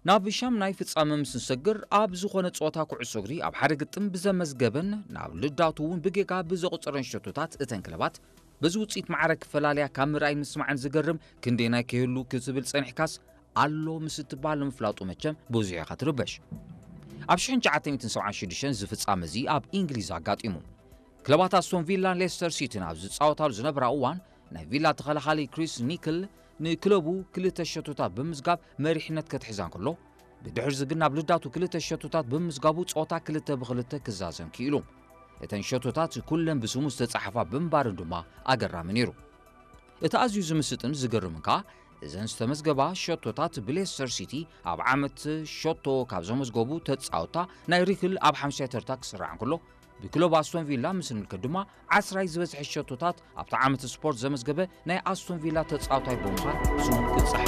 ናብ ሻምናይ ፍጻመ ምስ ንሰግር፣ ኣብ ዝኾነ ጸወታ ኩዕሶ እግሪ ኣብ ሓደ ግጥም ብዘመዝገበን ናብ ልዳቱ እውን ብጌጋ ብዘቑጸረን ሸቶታት እተን ክለባት በዚ ውጽኢት ማዕረ ክፈላለያ ካብ ምርኣይ ምስማዕን ዝገርም ክንደየናይ ከይህሉ ክትብል ጸኒሕካስ ኣሎ ምስ እትበሃል ንምፍላጡ መቸም ብዙሕ ኢኻ ትርበሽ። ኣብ ሽሕን ትሽዓተ ሚእትን ሰብዓን ሽዱሽተን እዚ ፍጻመ እዚ ኣብ እንግሊዝ ኣጋጢሙ። ክለባት ኣስቶን ቪላን ሌስተር ሲቲን ኣብ ዝጻወታሉ ዝነበራ እዋን ናይ ቪላ ተኸላኻሊ ክሪስ ኒክል ንክለቡ ክልተ ሸቶታት ብምዝጋብ መሪሕነት ከትሕዛ እንከሎ፣ ብድሕርዚ ግን ናብ ልዳቱ ክልተ ሸቶታት ብምዝጋቡ ጸወታ ክልተ ብክልተ ክዛዘም ክኢሉ። እተን ሸቶታት ኩለን ብስሙ ዝተጻሕፋ ብምንባርን ድማ ኣገራሚ ነይሩ። እቲ ኣዝዩ ዝምስጥን ዝገርምን ከኣ እዘን ዝተመዝገባ ሸቶታት ብሌስተር ሲቲ ኣብ ዓመት ሸቶ ካብ ዘመዝገቡ ተጻወታ ናይ ሪክል ኣብ ሓምሻይ ተርታ ክስራዕ እንከሎ፣ ብክለብ ኣስቶን ቪላ ምስ ንምልከት ድማ ዓስራይ ዝበዝሐ ሸቶታት ኣብቲ ዓመት ስፖርት ዘመዝገበ ናይ ኣስቶን ቪላ ተጻዋታይ ብምዃን ስሙ ክጸሓፍ